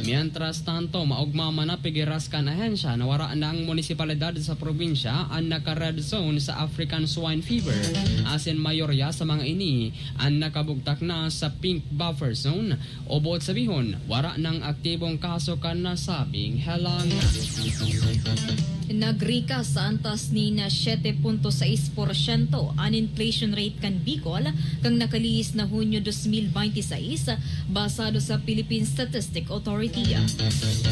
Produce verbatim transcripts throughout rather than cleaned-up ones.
Mientras tanto, maogma man na pigiras kan ahensya na wara nang munisipalidad sa probinsya an naka-red zone sa African Swine Fever, asin mayorya sa mga ini an nakabugtak na sa pink buffer zone, o buot sabihon, wara nang aktibong kaso kan nasabing helang. Nagrikas sa antas nin siyete punto sais porsyento an inflation rate kan Bicol kan nakalihis na Hunyo dos mil benti sais, basado sa Philippine Statistic Authority.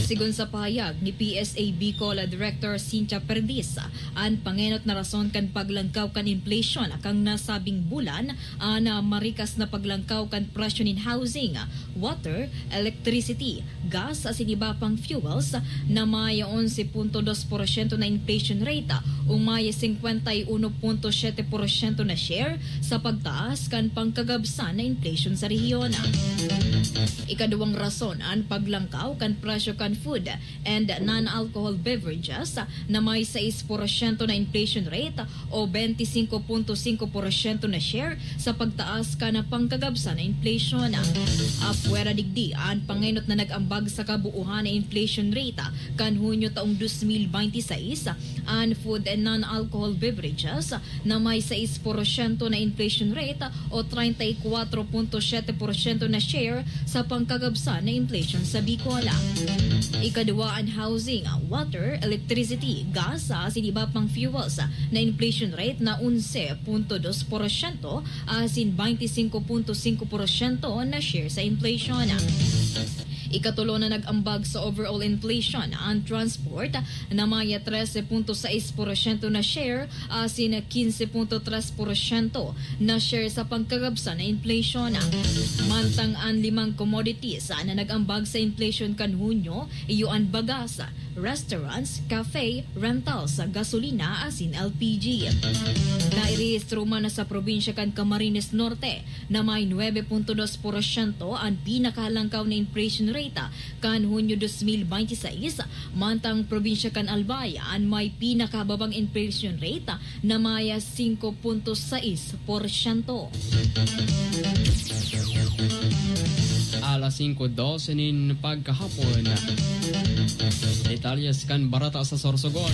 Sigon sa pahayag ni P S A Bicol Director Cynthia Perdiz, an pangenot na rason kan paglangkaw kan inflation kan nasabing bulan an marikas na paglangkaw kan presyo nin housing, water, electricity, gas asin iba pang fuels na may onse punto dos porsyento na inflation rate o may singkwenta y uno punto siyete porsyento na share sa pagtaas kan pangkagabsan na inflation sa rehiyon. Ikaduwang rason, an paglangkaw kan presyo kan food and non-alcohol beverages na may sais porsyento na inflation rate o benti singko punto singko porsyento na share sa pagtaas kan pangkagabsan na inflation. Apwera digdi, an pangenot na nag-ambag sa kabuuhan na inflation rate kan Hunyo taong dos mil benti sais, an food and non-alcohol beverages na may sais porsyento na inflation rate o treinta y cuatro punto siyete porsyento na share sa pangkagabsan na inflation sa Bicol. Ikaduwa, an housing, water, electricity, gas, asin iba pang fuels na inflation rate na onse punto dos porsyento asin benti singko punto singko porsyento na share sa inflation. Ikatulo na nag-ambag sa overall inflation an transport na may trese punto sais porsyento na share asin kinse punto tres porsyento na share sa pangkagabsan na inflation. Mantang an limang commodities na nag-ambag sa inflation kan Hunyo, iyo an bagas, restaurants, cafe, rentals, gasolina asin L P G. Nairehistro man sa probinsya kan Camarines Norte na may nuebe punto dos porsyento an pinakahalangkaw na inflation rate kan Hunyo dos mil benti sais, mantang probinsya kan Albay an may pinakababang inflation rate na may singko punto sais porsyento. Alas singko dose nin pagkahapon. Detalyes kan bareta sa Sorsogon.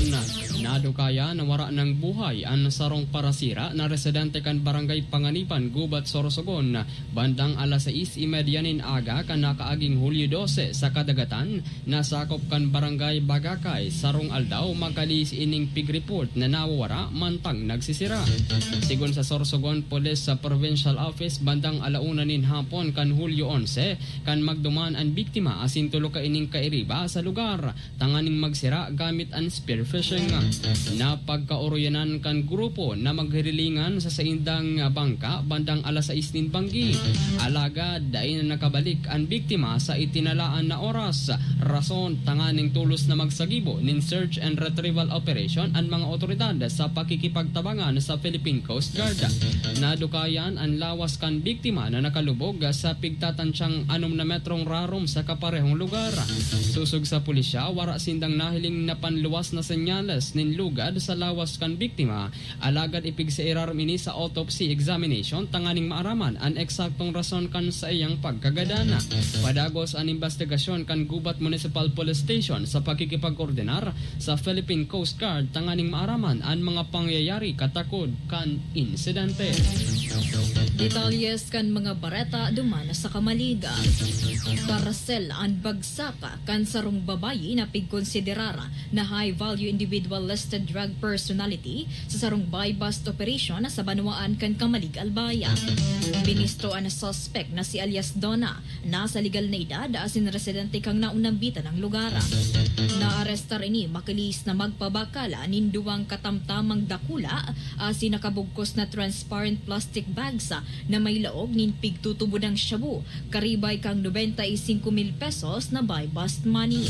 Nadukayan na wara nang buhay an sarong parasira na residente kan Barangay Panganiban, Gubat, Sorsogon, bandang alas sais y media nin aga kan nakaaging Hulyo dose sa kadagatan na sakop kan Barangay Bagakay. Sarong aldaw, makalihis ining pig report na nawawara mantang nagsisira. Sigon sa Sorsogon Police sa Provincial Office, bandang ala una nin hapon kan Hulyo onse, kan magduman an biktima asin tulo kaining kairiba sa lugar tanganing magsira gamit an spearfishing. Napagkaoroyanan kan grupo na maghirilingan sa saindang bangka bandang alas sais nin banggi. Alagad dai na nakabalik an biktima sa itinalaan na oras, rason tanganing tolos na magsagibo nin search and retrieval operation an mga otoridad sa pakikipagtabangan sa Philippine Coast Guard. Nadukayan an lawas kan biktima na nakalubog sa pigtatansyang anom na metrong rarom sa kaparehong lugar. Sosog sa pulisya, wara sindang nahiling na panluwas na senyales nin lugad sa lawas kan biktima, alagad ipigsairarom ini sa autopsy examination tanganing maaraman an eksaktong rason kan saiyang pagkagadan. Padagos an imbestigasyon kan Gubat Municipal Police Station sa pakikipagkoordinar sa Philippine Coast Guard tanganing maaraman an mga pangyayari katakod kan insidente. Detalyes kan mga bareta duman sa Camalig. Karasel an bagsak kan sarong babayi na pigkonsiderar na high-value individual listed drug personality sa sarong buy-bust operation sa banwaan kan Camalig, Albay. Binisto an suspect na si alias Donna, nasa legal na edad asin residente kan naunambitan na lugar. Naarestar ini makalihis na magpabakal nin duwang katamtamang dakula asin nakabugkos na transparent plastic bags na may laog nin pigtutubodang shabu, karibay kan nobenta y singko mil pesos na buy-bust money.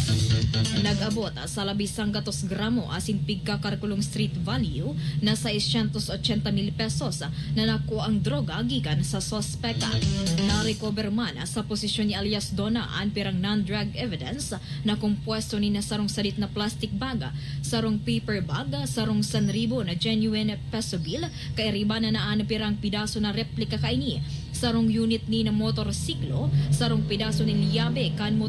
Nag-abot sa labisang gatos gramo asin pigkakarkulong street value na seiscientos ochenta mil pesos na nakuha ang droga gikan sa suspek. Na-recover man sa posisyon ni alias Donna an pirang non-drug evidence na kompuesto nin sarong sadit na plastic bag, sarong paper bag, sarong sanribo na genuine peso bill, kairiba na an pirang pidaso na replika kaini, sarong unit nin motorsiklo, sarong pidaso nin liyabe kan motor